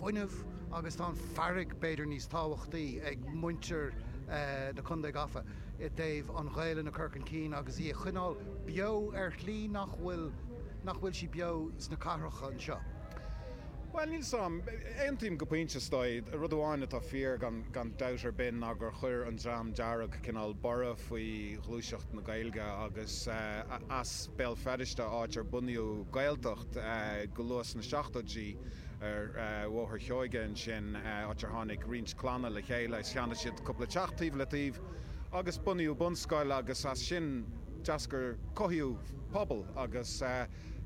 fuinneamh agus tá an fearg b'fhéidir níos tábhachtaí ag muintir na Contae Gafa i dtaobh an Ghaelainn a chur chun cinn agus í a choinneáil beo ar shlí nach bhfuil nach bhfuil sí beo sna cathracha anseo. Bhuel, níl 's a'm. Aontaím go pointe, is dóigh. Rud amháin atá fíor gan gan dabht ar bith ná gur chuir an Dream Dearg cineál borradh faoi ghluaiseacht na Gaeilge agus as Béal Feirste, áit ar bunaíodh Gaeltacht go luath sna seachtóidí ar Bhóthar Sheoige ansin, áit ar tháinig roinnt clanna le chéile is cheannaigh siad cúpla teach taobh le taobh agus bunaíodh bunscoil agus as sin d'eascair, cothaíodh pobal agus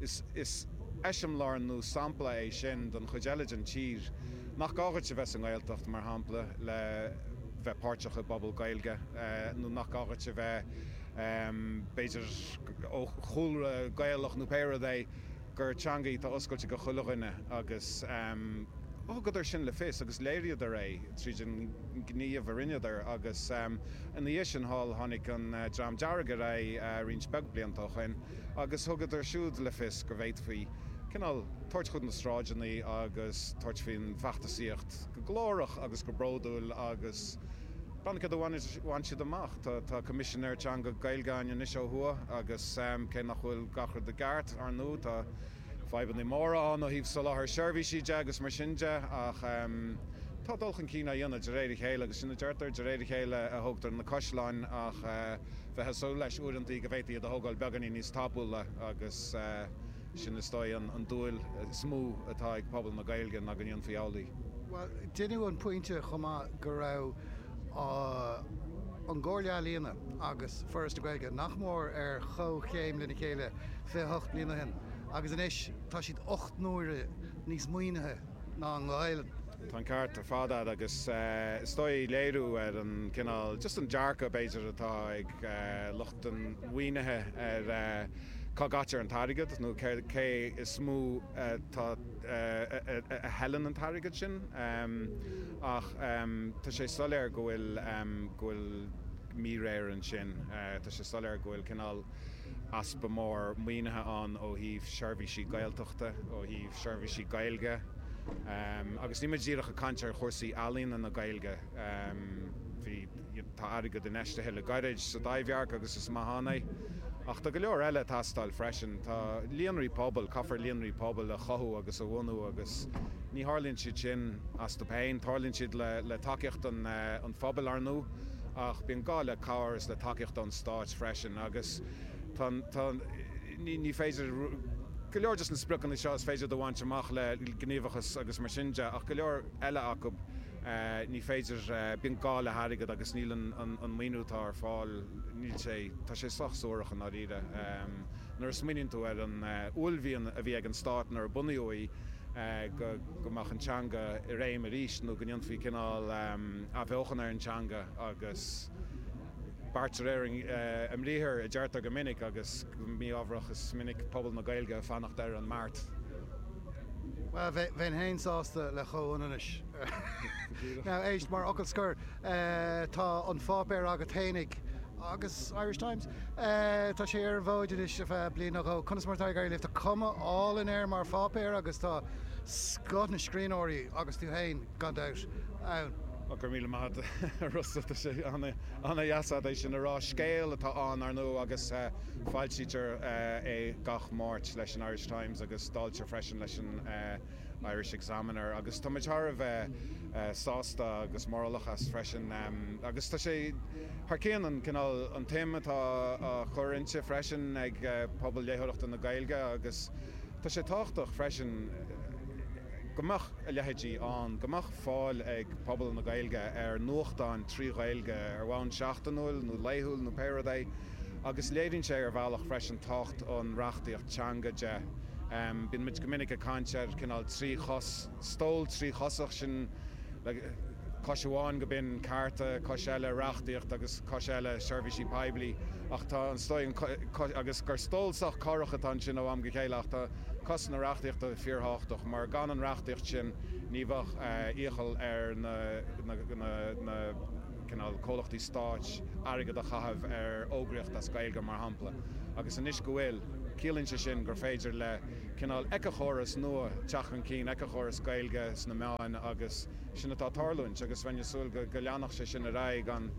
is eiseamláir nó sampla é sin don chuid eile den tír nach gá dhuit a bheith sa nGaeltacht, mar shampla, le bheith páirteach i bpobal Gaeilge nó nach gá dhuit a bheith, b'fhéidir, ó chúlra Gaelach nó pé rud é, gur teanga í atá oscailte do chuile dhuine agus thugadar sin le fios agus léiríodar é tríd an ngníomh a rinneadar agus ina dhiaidh sin thall tháinig an Dream Dearg ar aghaidh roinnt beag blianta ó shoin agus thugadar siúd le fios go bhféadfaí cineál tabhairt chun na sráideanna agus tabhairt faoin bhfeachtasaíocht go glórach agus go bródúil agus breathnaigh cad a bhain siad amach. Tá Coimisinéir Teanga Gaeilge againn anois ó thuaidh agus cé nach bhfuil gach rud i gceart, ar ndóigh, tá fadhbanna móra ann ó thaobh soláthar seirbhísí de agus mar sin de ach tá dul chun cinn á dhéanamh de réir a chéile agus sin a deirtear, de réir a chéile a thógtar na caisleáin ach bheifeá ag súil leis uaireanta go bhféadfaí iad a thógáil beagáinín níos tapúla agus sin is dóigh an dúil is mó atá ag pobal na Gaeilge ná go ndéanfaí amhlaidh. Bhuel, deineadh an pointe chomh maith go raibh an Chomhairle Ealaíona agus Foras na Gaeilge nach mór ar chomhchéim lena chéile 28 bliain ó shin agus anois tá siad 8 n-uaire níos maoinithe ná an Ghaelainn. Tá an ceart ar fad agat agus is dóigh léiriú ar an cineál, just an dearcadh b'fhéidir atá ag lucht an mhaoinithe ar cá gcaitear an t-airgead nó cé is mó atá a thuilleann an t-airgead sin ach tá sé soiléir go bhfuil go bhfuil míréir ansin. Tá sé soiléir go bhfuil cineál easpa mór maoinithe ann ó thaobh seirbhísí Gaeltachta, ó thaobh seirbhísí Gaeilge agus níl mé díreach ag caint ar chúrsaí ealaíona na Gaeilge. Bhí, tá airgead infheistithe le gairid sa Taibhdhearc agus is maith ann é. Ach tá go leor eile ag teastáil freisin. Tá líonraí pobail, caithfear líonraí pobail a chothú agus a bhunú agus ní tharlaíonn siad sin astu féin. Tarlaíonn siad le tacaíocht an phobail, ar ndóigh, ach bíonn gá le cabhair is le tacaíocht ón stáit freisin agus tá, tá, ní, ní féidir, go leor de na spriocanna seo is féidir iad a bhaint amach le gníomhachas agus mar sin de ach go leor eile acu, Ní féidir, bíonn gá le hairgead agus níl an maoiniú atá ar fáil, níl sé, tá sé sách suarach i ndáiríre. Nuair a smaoiníonn tú ar an uaillmhian a bhí ag an stát nuair a bunaíodh í, go mbeadh an teanga i réim arís nó go ndéanfaí cineál athbheochan ar an teanga agus beart de réir a mbriathair a deirtear go minic agus go mí-ámharach is minic pobal na Gaeilge ag fanacht ar an mbeart. Bhuel, bheinn féin sásta le comhionannais. Now, éist, mar fhocal scoir, tá an pháipéar agat fhéinig agus Irish Times, tá sé ar an bhfód anois ar feadh bliain nó dhó. Conas mar atá ag éirí libh? Tá cuma álainn air mar pháipéar agus tá scoth na scríbhneoirí agus tú féin, gan dabht, ann. Go raibh míle maith agat, a Rossa. Tá sé ana-dheas agat é sin a rá. Scéal atá ann, ar ndóigh, agus foilsítear é gach Máirt leis an Irish Times agus dáiltear freisin leis an Irish Examiner agus tá muid thar a bheith sásta agus mórálach as freisin agus tá sé thar cionn an cineál, an tsuim atá á chur inti freisin ag pobal léitheoireachta na Gaeilge agus tá sé tábhachtach freisin go mbeadh a leithéidí ann, go mbeadh fáil ag pobal na Gaeilge ar nuachtáin trí Ghaeilge ar bhonn seachtainiúil nó laethúil nó pé rud é agus léiríonn sé ar bhealach freisin tábhacht an reachtaíocht teanga de. Bíonn muid go minic ag caint ar cineál trí chos, stól tríchosach, sin le cois amháin go b'in cearta, cois eile reachtaíocht agus cois eile seirbhísí poiblí. Ach tá an stól, agus gur stól sách corrach atá ansin ó am go chéile, ach tá cos na reachtaíochta fíorthábhachtach mar gan an reachtaíocht sin ní bheadh iachall ar na na cineál comhlachtaí stáit airgead a chaitheamh ar fhógraíocht as Gaeilge mar shampla. Agus anois go bhfuil. Ciallaíonn sé sin gur féidir le cineál éiceachóras nua teacht chun cinn, éiceachóras Gaeilge sna meáin agus sin atá ag tarlúint agus bheinn ag súil go leanfadh sé sin ar aghaidh gan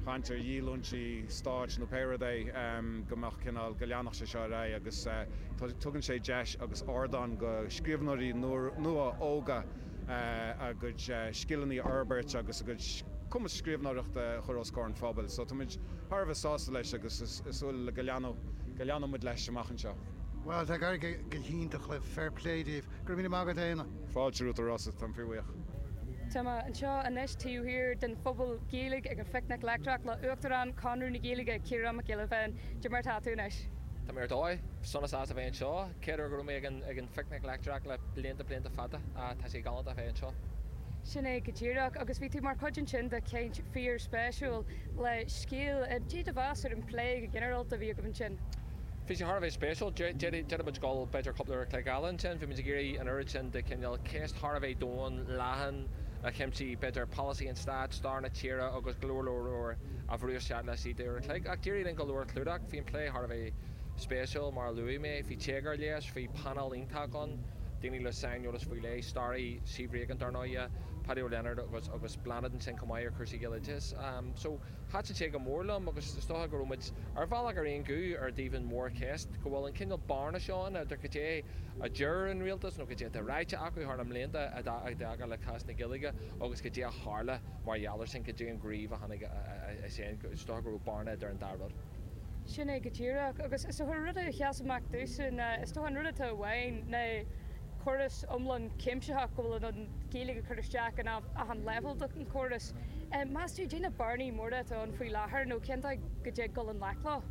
chaint ar dhíolúintí stáit nó pé rud é, go mbeadh cineál, go leanfadh sé seo ar aghaidh agus tugann sé deis agus ardán go scríbhneoirí nua óga a gcuid scileanna a fhorbairt agus a gcuid cumas scríbhneoireachta a chur os comhair an phobail. So táimid thar a bheith sásta leis agus ag súil go leanfaidh go leanfaidh muid leis amach anseo. Bhuel, tá ag éirí go hiontach libh, fair play daoibh. Go raibh míle maith agat, a Éanna. Fáilte romhat, a Rossa, táim fíorbhuíoch. Tá mé anseo anois taobh thiar den Phuball Gaeilge ag an Phicnic Leictreach le Uachtarán Chonradh na Gaeilge, Ciarán Mac Giolla Bhéin. Cad é mar atá tú anois? Tá mé ar dóigh. Sona sásta bheith anseo. Chéad uair go raibh mé ag an Phicnic Leictreach le blianta blianta fada. Tá sé galánta a bheith anseo. Sin é go díreach. Agus bhí tú mar chuid ansin de chaint fíor-spéisiúil le Scéal. Cad é do mheas ar an phlé go ginearálta a bhí agaibh ansin? Bhí sé thar a bheith spéisiúil. D'fhéadfadh muid dul b'fhéidir cúpla uair a chloig eile ansin. Bhí muid ag iarraidh an oiread sin de chineál ceist thar a bheith domhain, leathan, a chuimsigh b'fhéidir polasaí an stáit, stair na tíre agus go leor leor leor a bhrú isteach laistigh d'uair a chloig. Ach d'éirigh linn go leor a chlúdach. Bhí an plé thar a bheith spéisiúil, mar a luaigh mé. Bhí téagar leis, bhí painéal iontach ann, daoine le saineolas faoi leith, staraí Steve Regan dar ndóighe, Paddy Ó Lionáird agus agus Bláthnaid ansin chomh maith ar chúrsaí Gaeloideachais. So, thaitin sé go mór liom agus is dócha go raibh muid ar bhealach ar aon ghuth ar dtaobh an mhórcheist, go bhfuil an cineál bearna seo ann idir cad é a deir an rialtas nó cad é atá ráite acu thar na mblianta i dtaca le cás na Gaeilge agus cad é a tharla mar gheall air sin, cad é an gníomh a tháinig as sin. Is dócha go raibh bearna idir an dá rud. Sin é go díreach. Agus is dócha an rud a sheas amach domhsa ná, is dócha an rud atá uainn ná córas iomlán cuimsitheach go bhfuil an Ghaeilge ag cur isteach in achan leibhéal den chóras. Meas tú, cad é na bearnaí móra atá ann faoi láthair nó cén dóigh go dtig dul i ngleic leo?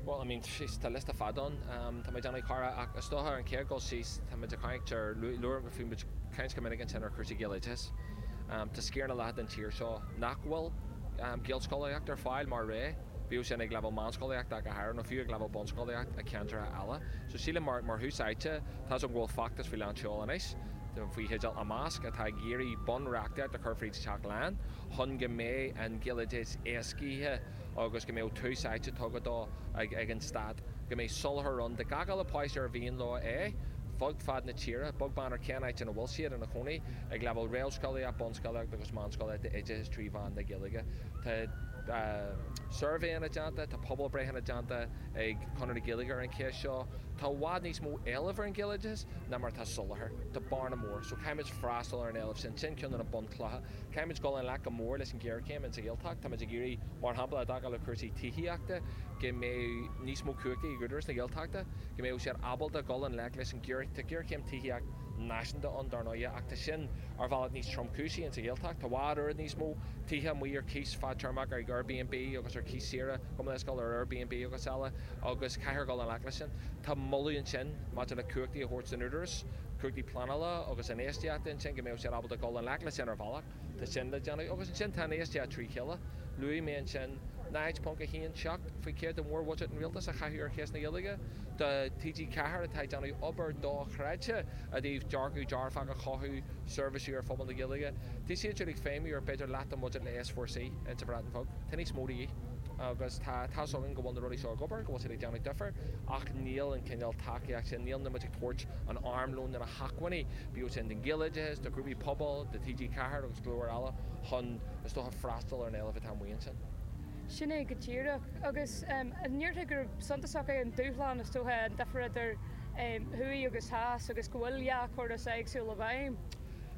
Bhuel, I mean, tá liosta fada ann. Tá mé ag déanamh cara ach is dócha ar an chéad dul síos tá muid ag caint ar, luaigh, bhí muid ag caint go minic ansin ar chúrsaí Gaeloideachais. Tá sciar ina leath den tír seo nach bhfuil Gaelscolaíocht ar fáil mar rogha. Bíodh sin ag leibhéal meánscolaíochta ach go háirithe, nó fiú ag leibhéal bunscolaíocht i ceantracha eile. So sílim mar mar thús áite, tá's agam go bhfuil feachtas faoi lán seoil anois, faoi theideal Imeasc, atá ag iarraidh bunreachtaíocht a chur fríd an Teach Lán chun go mbeidh an Gaeloideachas éascaithe agus go mbeadh tús áite tugtha dó ag ag an stát, go mbeidh soláthar ann do gach uile páiste ar mhian leo é, fud fad na tíre, beag beann ar cén áit ina bhfuil siad ina chónaí, ag leibhéal réamhscolaíocht, bunscolaíocht agus meánscolaíocht d'oideachas trí mheán na Gaeilge. Tá. suirbhéanna déanta, tá pobalbhreitheanna déanta ag Conradh na Gaeilge ar an cheist seo. Tá i bhfad níos mó éilimh ar an Ghaeloideachas ná mar atá soláthar. Tá bearna mór. So caithfimid freastal ar an éileamh sin. Sin ceann de na bunchlocha. Caithfimid dul i ngleic go mór leis an ghéarchéim insa Ghaeltacht. Táimid ag iarraidh, mar shampla, i dtaca le cúrsaí tithíochta, go mbeadh níos mó cumhachtaí ag Údarás na Gaeltachta, go mbeadh siad ábalta dul i ngleic leis an ghéar, tá géarchéim tithíocht náisiúnta ann, dar ndóighe, ach tá sin ar bhealach níos tromchúisí insa Ghaeltacht. Tá i bhfad oiread níos mó tithe amuigh ar cíos fadtéarmach ag Airbnb agus ar cíos saoire, gabh mo leithscéal, ar Airbnb agus eile, agus caithfear dul i ngleic leis sin. Tá moladh ansin maidir le cumhachtaí a thabhairt don Údarás, cumhachtaí pleanála agus infheistíochta ansin, go mbeadh siad ábalta dul i ngleic leis sin ar bhealach. Tá sin le déanamh. Agus ansin tá an infheistíocht trí chéile. Luaigh mé ansin 0.17% de mhórbhuiséad an rialtais a chaitheamh ar cheist na Gaeilge. Do TG4 atá ag déanamh obair dochreidte i dtaobh dearcadh dearfach a chothú, seirbhísiú ar phobal na Gaeilge. Tá siad siúd ag feidhmiú ar b'fhéidir leath den bhuiséad le S4C insa Bhreatain Bheag. Tá níos mó de dhíth. Agus tá tá's againn go bhfuil na rudaí seo ag obair, go bhfuil siad ag déanamh difear, ach níl an cineál tacaíocht sin, níl muid ag tabhairt an armlón nó na hacmhainní, bíodh sin don Ghaeloideachas, do ghrúpaí pobail, do TG4 agus go leor eile chun, is dócha, freastal ar an éileamh atá amuigh ansin. Sin é go díreach. Agus an ndéarfá gur suntasach é an dúshlán, is dócha, an difear idir thuaidh agus theas agus go bhfuil dhá chóras éagsúil i bhfeidhm?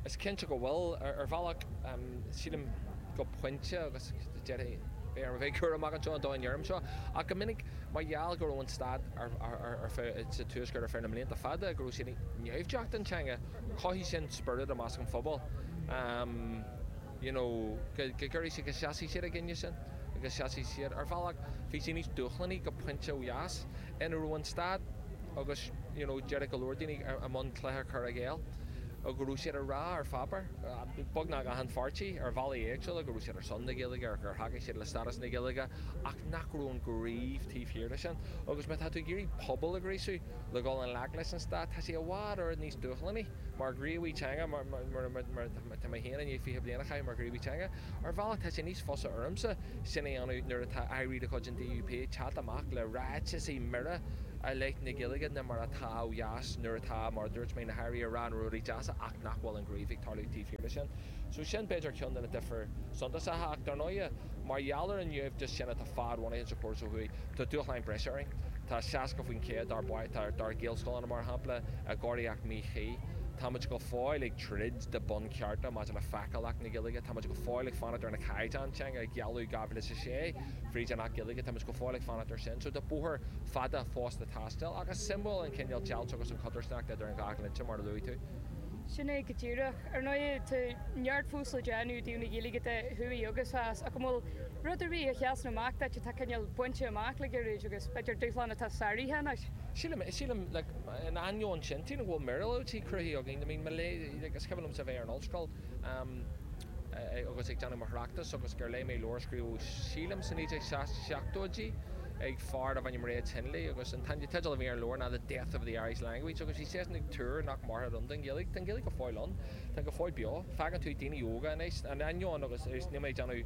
Is cinnte go bhfuil. Ar bhealach, sílim go pointe, agus déarfainn, beidh orm a bheith cúramach anseo an dóigh a ndeirim seo, ach go minic mar gheall go raibh an stát ar feadh, sa Tuaisceart ar feadh na mblianta fada, go raibh siad naimhdeach don teanga, chothaigh sin spiorad i measc an phobail you know go gcuirfidh siad, go seasfaidh siad i gcoinne sin, go seasfaidh siad. Ar bhealach, bhí sé níos dúshlánaí go pointe ó dheas, ina raibh an stát agus you know déarfadh go leor daoine i mbun cluiche cur i gcéill, go raibh siad ag rá ar pháipéar, beagnach achan pháirtí, ar bhealaí éagsúla, go raibh siad ar son na Gaeilge, gur thacaigh siad le stádas na Gaeilge, ach nach raibh an gníomh taobh thiar de sin. Agus má tá tú ag iarraidh pobal a ghríosú le dhul i ngleic leis an stát, tá sé i bhfad oiread níos dúshlánaí mar ghníomhaí teanga, mar tá mé féin i ndiaidh 20 bliain a chaitheamh mar ghníomhaí teanga. Ar bhealach tá sé níos fusa ormsa sin a dhéanamh nuair atá airí de chuid an DUP ag teacht amach le ráiteasaí mire. i leith na Gaeilge ná mar atá ó dheas nuair atá, mar a dúirt mé, na hairí ag rá na rudaí deasa ach nach bhfuil an gníomh ag tarlú taobh thiar de sin. So sin b'fhéidir ceann de na difir suntasacha ach dar ndóighe mar gheall ar an naimhdeas sin atá fadbhunaithe sa chóras ó thuaidh, tá dúshláin breise orainn. Tá 60% dár dár Gaelscoileanna, mar shampla, i gcóiríocht míchuí. Táimid go fóill ag troid do bunchearta maidir le feiceálacht na Gaeilge. Táimid go fóill ag fanacht ar na caighdeáin teanga a gealladh 2006 fríd an Acht Gaeilge. Táimid go fóill ag fanacht ar sin. So tá bóthar fada fós le taisteal ach is suimiúil an cineál deighilt agus an chodarsnacht idir an dhá dhlínse, mar a luaigh tú. Sin é go díreach. Ar ndóigh, tá neart fós le déanamh i dtaobh na Gaeilge de, thuaidh agus theas, ach an bhfuil rud ar bith a sheasann amach duit atá cineál bainte amach le gairid agus b'fhéidir dúshlán atá sáraithe anois? Sílim, sílim, like, in ainneoin sin, sílim go bhfuil míorúiltí cruthaithe againn. I mean, mo lé, like, is cuimhin liomsa bheith ar an ollscoil, um, agus ag déanamh mo thráchtas agus gur léigh mé leabhar a scríobhadh, sílim, sa 1970idí ag fear darbh ainm Ray Tinnelly agus an teideal a bhí ar an leabhar ná The Death of the Irish Language agus bhí seisean ag tuar nach mairfeadh aon don Ghaeilge. Tá an Ghaeilge go fóill ann. Tá go fóill beo. Feiceann tú daoine óga anois, in ainneoin agus níl mé ag déanamh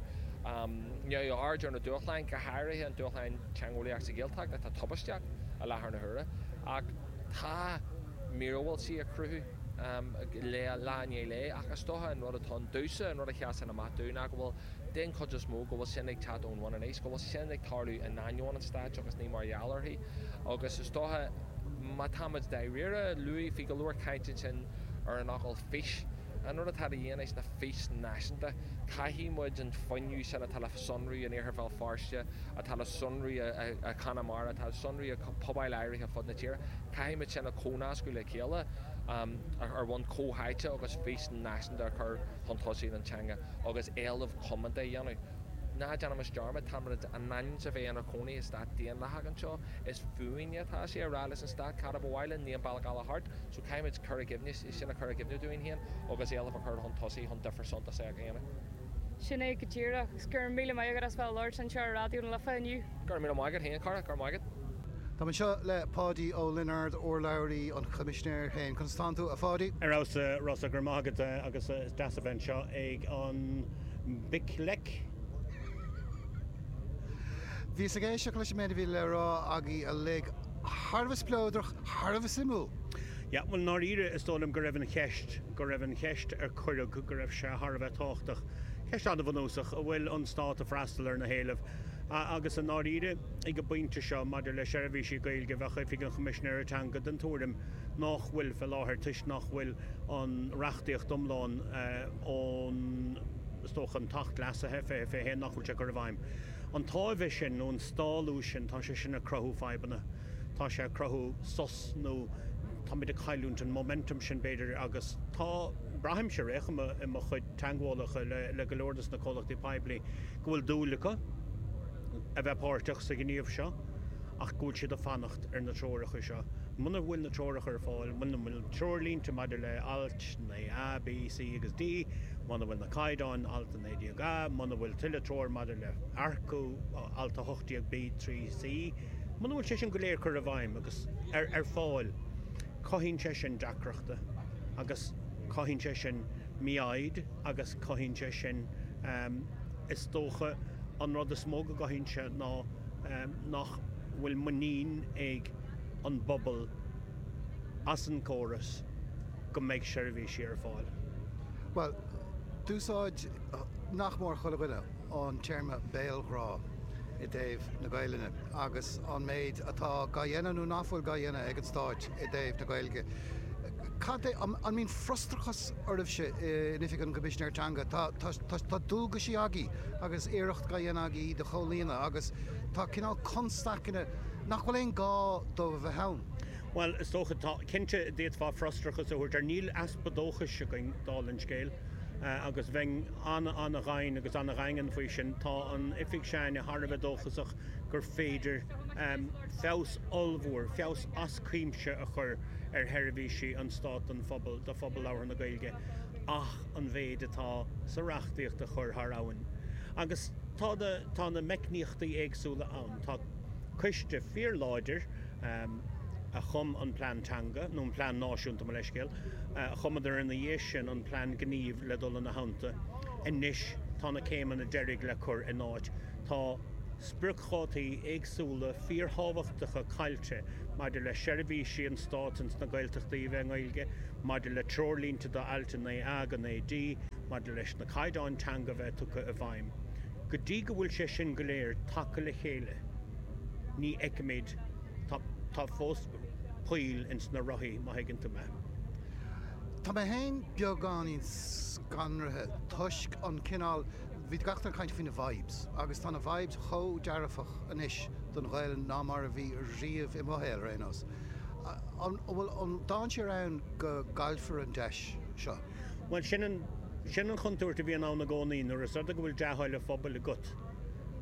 neamhaird ar na dúshláin, go háirithe an dúshlán teangeolaíoch sa Ghaeltacht atá tubaisteach i láthair na huaire, ach tá míorúiltí á cruthú lá i ndiaidh lae ach is dócha an rud atá ann domhsa, an rud a sheasann amach domh ná go bhfuil, den chuid is mó, go bhfuil sin ag teacht ón bhun aníos, go bhfuil sin ag tarlú in ainneoin an stáit agus ní mar gheall uirthi. Agus is dócha, má táimid dáiríre, luaigh, bhí go leor caint ansin ar an fhocal fís. An rud atá de dhíth anois ná fís náisiúnta. Caithfidh muid an fuinneamh sin atá le sonrú in Iarthar Bhéal Feirste, atá le sonrú i gConamara, atá le sonrú i pobail áirithe fud na tíre, caithfidh muid sin a chomhnascadh le chéile ar bhonn comhtháite agus fís náisiúnta a chur chun tosaigh don teanga agus éileamh comónta a dhéanamh. Ná déanaimis dearmad, táimid in ainm is a bheith inár gcónaí i stát daonlathach anseo. Is fúinne atá sé a rá leis an stát cad a ba mhaith linn, níl aon bealach eile thart. So caithfimid cur i gcuimhne, sin a chur i gcuimhne dúinn féin agus éileamh a chur chun tosaigh chun difear suntasach a dhéanamh. Sin é go díreach. Go raibh míle maith agat as bheith ag labhairt anseo ar Raidió na Life inniu. Go raibh míle maith agat féin, a chara. Go raibh maith agat. Táim anseo le Páidí Ó Lionáird, urlabhraí an Choimisinéir féin. Conas tánn tú, a Pháidí? Ar fheabhas, a Rossa, go raibh maith agat agus is deas a bheith anseo ag an bPicleic. Bhíos ag éisteacht leis an méid a bhí le rá agaibh uilig. Thar a bheith spleodrach, thar a bheith suimiúil. Yeah, bhuel, i ndáiríre, is dóigh liom go raibh an cheist, go raibh an cheist ar cuireadh, go raibh sé thar a bheith tábhachtach. Ceist an-bhunúsach, an bhfuil an Stát ag freastal ar na héilimh? Agus i ndáiríre, ag an bpointe seo, maidir le seirbhísí Gaeilge, bheadh Oifig an Choimisinéara Teanga den tuairim nach bhfuil fé láthair, toisc nach bhfuil an reachtaíocht iomlán ón, is dócha, an tAcht Leasaithe, 2021, nach bhfuil sé curtha i bhfeidhm. An táimhe sin, nó an stálú sin, tá sé sin ag cruthú fadhbanna. Tá sé ag cruthú sos nó táimid ag cailliúint an momentum sin, b'fhéidir, agus tá, braithimse ar aon chuma i mo chuid teagmhálacha le go leor de na comhlachtaí poiblí go bhfuil dúil acu a bheith páirteach sa ghníomh seo ach go bhfuil siad ag fanacht ar na treoracha seo. Muna bhfuil na treoracha ar fáil, muna bhfuil treoirlínte maidir le Ailt 9A, B, C agus D, muna bhfuil na caighdeáin, Alt 19A, muna bhfuil tuilleadh treoir maidir le earcú, Alt 18B, 3C, muna bhfuil sé sin go léir curtha i bhfeidhm agus ar fáil, cothaíonn sé sin deacrachta agus cothaíonn sé sin mífhoighid agus cothaíonn sé sin, is dócha, an rud is mó go gcothaíonn sé ná nach bhfuil muinín ag an bpobal as an gcóras go mbeidh seirbhísí ar fáil. Bhuel, d'úsáid nach mór chuile dhuine an téarma béalghrá i dtaobh na Gaelainne agus an méid atá gá dhéanamh nó nach bhfuil gá dhéanamh ag an Stáit i dtaobh na Gaeilge. Cad é, an mbíonn frustrachas oraibhse in Oifig an Choimisinéir Teanga? Tá, tá, tá, tá dualgaisí agaibh agus iarracht gá dhéanamh agaibh iad a chomhlíonadh agus tá cineál constaiceanna nach bhfuil aon gá dóibh a bheith ann. Bhuel, is dócha, tá, cinnte, d'fhéadfá frustrachas a thabhairt air. Níl easpa dóchais againn, dála an scéil, agus bheinn an-an-ghainn agus an-dhaingean faoi sin. Tá an oifig s'againne thar a bheith dóchasach gur féidir feabhas ollmhór, feabhas as cuimse a chur ar sheirbhísí an Stáit don phobal, do phobal labhartha na Gaeilge, ach an mhéid atá sa reachtaíocht a chur thar abhainn. Agus tá na, tá na meicníochtaí éagsúla ann. Tá coiste fíorláidir a chum an plean teanga, nó an plean náisiúnta, mo leithscéal, a chumadar ina dhiaidh sin an plean gnímh le dul ina theannta. Anois tá na céimeanna deiridh le cur in áit. Tá. spriocdhátaí éagsúla fíorthábhachtacha caillte maidir le seirbhísí an Stáit ins na Gaeltachtaí a bheith i nGaeilge, maidir le treoirlínte do Ailt 9A go 9D, maidir leis na caighdeáin teanga a bheith tugtha i bhfeidhm. Go dtí go bhfuil sé sin go léir tagtha le chéile, ní fheicimid, tá, tá fós poill ins na rothaí, má thuigeann tú mé. Tá mé féin beagáinín scanraithe toisc an cineál, bhí gach duine ag caint faoi na vibes agus tá na vibes chomh dearfach anois don Ghaelainn ná mar a bhí riamh i mo shaol ar aon nós. An bhfuil an dainséar ann go gcaillfear an deis seo? Bhuel, sin an, sin an chontúirt a bhíonn ann i gcónaí nuair is rud é go bhfuil dea-thoil an phobail agat,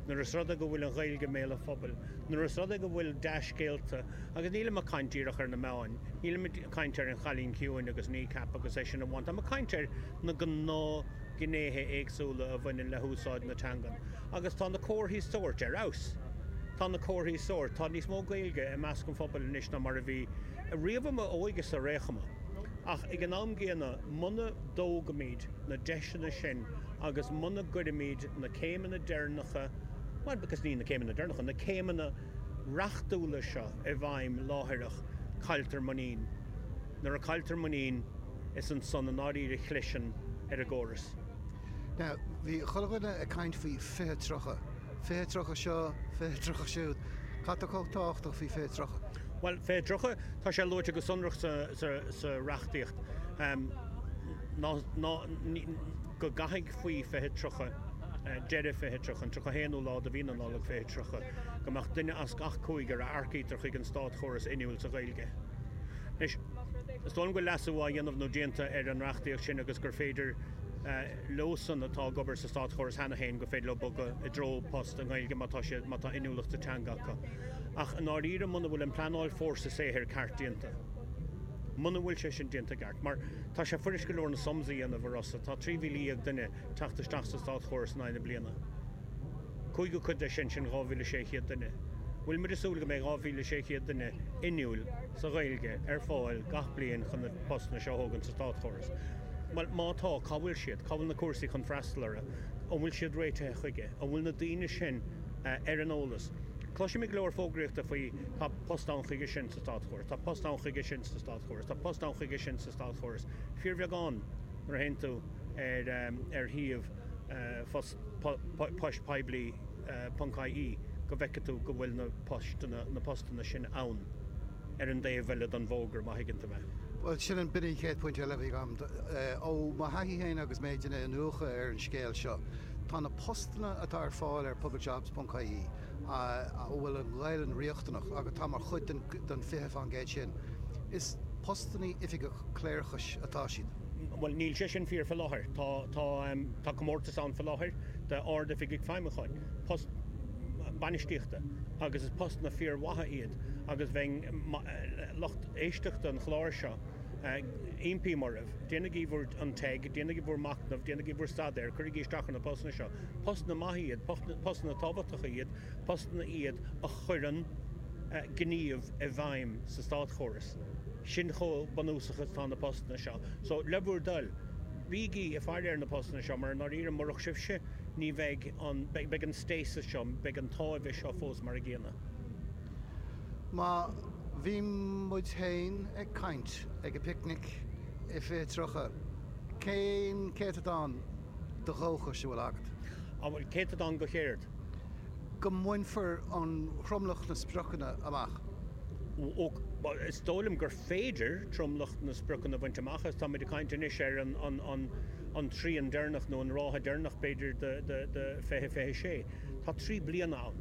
nuair is rud é go bhfuil an Ghaeilge i mbéal an phobail, nuair is rud é go bhfuil dea-scéalta, agus nílim ag caint díreach ar na meáin, nílim ag caint ar An Chailín Ciúin agus Kneecap agus é sin amháin, táim ag caint ar na gnáth gnéithe éagsúla a bhaineann le húsáid na teangan. Agus tá na comharthaí sóirt ar fheabhas. Tá na comharthaí sóirt. Tá níos mó Gaeilge i measc an phobail anois ná mar a bhí riamh i m'óige-sa ar aon chuma. Ach ag an am gcéanna, muna dtógaimid na deiseanna sin agus muna gcuirimid na céimeanna deireanacha, bhuel, agus ní na céimeanna deireanacha, na céimeanna reachtúla seo i bhfeidhm láithreach, cailltear muinín. Nuair a cailltear muinín, is ansan i ndáiríre a chliseann ar an gcóras. Now, bhí chuile dhuine ag caint faoi 2030. 2030 seo, 2030 siúd. Cad tá chomh tábhachtach faoi 2030? Bhuel, 2030, tá sé luaite go sonrach sa reachtaíocht ná go gcaithfidh faoi 2030, deireadh 2030, an 31ú lá de mhí na Nollag 2030, go mbeadh duine as gach cúigear a earcaítear chuig an státchóras inniúil sa Ghaeilge. Anois, is dóigh liom go bhfuil leasú á dhéanamh nó déanta ar an reachtaíocht sin agus gur féidir leosan atá ag obair sa státchóras cheana féin gur féidir leo bogadh i dtreo post i nGaeilge má tá siad, má tá inniúlacht sa teanga acu. Ach i ndáiríre muna bhfuil an pleanáil fórsa saothair ceart déanta, muna bhfuil sé sin déanta i gceart, mar tá sé fuirist go leor na sums a dhéanamh, a Rossa, tá 13,000 duine ag teacht isteach sa státchóras in aghaidh na bliana. Cúigiú cuid de sin, sin 2,600 duine. Bhfuil muid ag súil go mbeidh 2,600 duine inniúil sa Ghaeilge ar fáil gach bliain chun na postanna seo a thógaint sa státchóras? Bhuel, má tá, cá bhfuil siad? Cá bhfuil na cúrsaí chun freastal orthu? An bhfuil siad réitithe chuige? An bhfuil na daoine sin ar an eolas? Cloisimid go leor fógraíochta faoi tá post ann chuige sin sa státchóras, tá post ann chuige sin sa státchóras, tá post ann chuige sin sa státchóras. Fíorbheagán nuair a théann tú ar shuíomh poistpoiblí ponc ie go bhfeicfidh tú go bhfuil na postanna, na postanna sin ann ar an dtaobh eile den bhfógra, má thuigeann tú mé. Bhuel, sin an, b'in an chéad phointe eile a bhí agam. Ó mo thaithí féin agus mé ag déanamh iniúchadh ar an scéal seo, tá na postanna atá ar fáil ar publicjobs ponc ie, a bhfuil an Ghaelainn riachtanach agus atá mar chuid den den 20% sin, is postannaí oifigeach cléireachais atá siad. Bhuel, níl sé sin fíor faoi láthair. Tá, tá, tá comórtas ann faoi láthair d'Ard-Oifigigh Feidhmiúcháin, post bainistíochta, agus is postanna fíormhaithe iad agus bheinn, lucht éisteachta an chláir seo, impím oraibh, déanaigí bhur, an teg, déanaigí bhur machnamh, déanaigí bhur staidéar, cuirigí isteach ar na postanna seo. Postanna maithe iad, postanna tábhachtacha iad, postanna iad a chuireann gníomh i bhfeidhm sa státchóras. Sin chomh bunúsach is atá na postanna seo. So, le bhur dtoil, bígí ag faire ar na postanna seo mar i ndáiríre murach sibhse ní bheidh an, beidh an stasis seo, beidh an táimhe seo fós mar an gcéanna. Má bhí muid féin ag caint ag an bpicnic i 2030, cén céatadán de dhóchais a bhfuil agat? An bhfuil céatadán de chéard? Go mbainfear an tromlach na spriocanna amach. Ó, is dóigh liom gur féidir tromlach na spriocanna a bhaint amach agus táimid ag caint anois ar an trian deireanach nó an ráithe deireanach b'fhéidir de 2026. Tá 3 bliana ann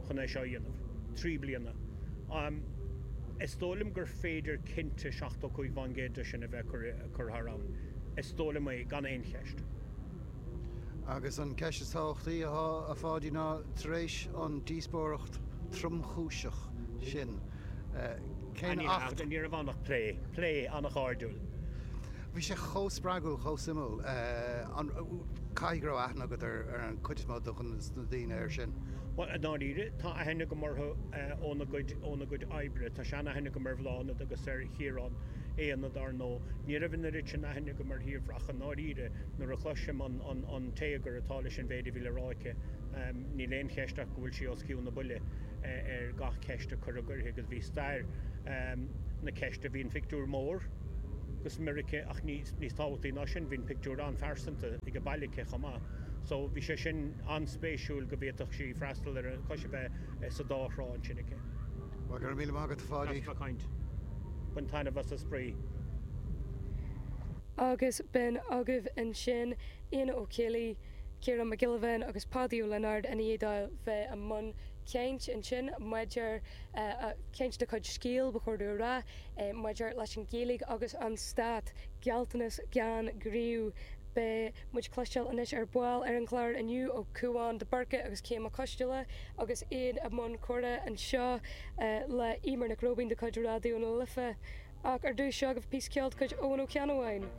chun é seo a dhéanamh. 3 bliana. Is dóigh liom gur féidir cinnte 75% de sin a bheith curtha thar abhainn. Is dóigh liom é gan aon cheist. Agus an ceist is tábhachtaí atá, a Pháidí, ná tar éis an díospóireacht tromchúiseach sin, cén Acht. Ní raibh ann ach plé, plé an-chairdiúil. Bhí sé chomh spreagúil, chomh suimiúil. Caithfidh go raibh aithne agat ar an chuid is mó de na daoine air sin. Bhuel, i ndáiríre, tá aithne agam orthu óna gcuid, óna gcuid oibre. Tá sean-aithne agam ar Bhláthnaid agus ar Chiarán. Éanna dar ndóigh. Ní raibh an oiread sin aithne agam ar thírdhreach i ndáiríre nuair a chloisim an téagar atá leis an mhéid a bhí le rá aici. Níl aon cheist ach go bhfuil sí os cionn na buille ar gach ceist a cuireadh uirthi agus bhí stair na ceiste, bhí an phictiúr mór go smior aici ach níos tábhachtaí ná sin bhí an pictiúr an-phearsanta ag baile aici chomh maith. So bhí sé sin an-spéisiúil go bhféadfadh sí freastal ar an cois a bheith sa dá thrá ansin aici. Bhuel, go raibh míle maith agat, a Pháidí. As bheith ag caint. Bain taitneamh as an spraoi. Agus b'in agaibh ansin Éanna Ó Ceallaigh, Ciarán Mac Giolla Bháin agus Páidí Ó Lionáird i ndiaidh dóibh bheith i mbun caint ansin maidir, caint de chuid Scéal ba chóir domh a rá, maidir leis an Ghaeilge agus an Stát, gealltanas gan ghníomh. Beidh muid cloisteáil anois ar ball ar an gclár inniu ó Cúán de Búrca agus Céim Mac Coisteala agus iad i mbun comhrá anseo le Eimear Nic Róibín de chuid Raidió na Life. Ach ar dtús seo agaibh píosa ceoil de chuid Eoin Ó Ceannabháin.